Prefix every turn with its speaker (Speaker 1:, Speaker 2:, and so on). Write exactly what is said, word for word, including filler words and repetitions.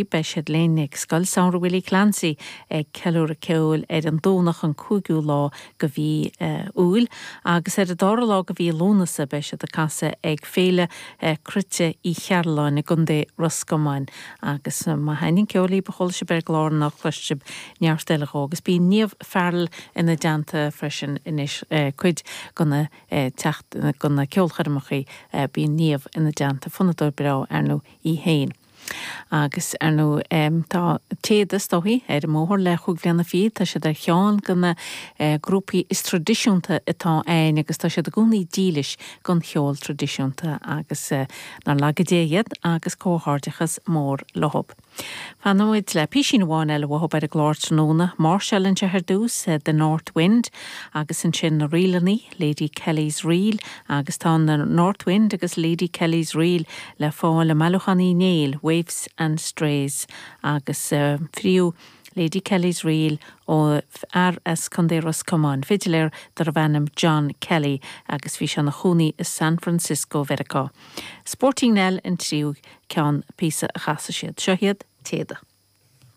Speaker 1: Beidh siad linn ag Scoil Samhraidh Willie Clancy ag ceiliúradh ceoil ar an Domhnach an cúigiú lá de mhí Iúil agus ar an dara lá de mhí Lúnasa beidh siad ag casadh ag Féile Cruite Uí Chearláin i gContae Ros Comáin agus má thaitníonn ceol libh a chuala sibh ar an gclár ná cloisfidh sibh neart eile dhó agus bíonn Niamh Farrell ina dteannta freisin anois cuid de na teacht de na ceolchoirmeacha bíonn Niamh ina dteannta fonnadóir breá ar ndóigh í féin. Agus ar ndóigh tá Téada is dóichí ar an mbóthar le chúig bhliana fichead, tá siad ar cheann de na grúpaí is traidisiúnta atá ann agus tá siad i gcónaí dílis don cheol traidisiúnta agus nár laga Dé iad agus comhghairdeachas mór leo. Fanfaimid le písín amháin eile uathu ar an gclár tráthnóna, máirseáil anseo ar dtús The North Wind agus ansin na ríleanna Lady Kelly's Reel agus tá na North Wind agus Lady Kelly's Reel le fáil i mbailiúchán Uí Néill, Waifs and Strays agus uh, fríú Lady Kelly's Reel ó fhear as Contae Ros Comáin, fidiléir darbh ainm John Kelly agus bhí sé ina chónaí i San Francisco Mheiriceá. Sporting Nell an tríú ceann píosa a chasfaidh siad. Seo iad Téada.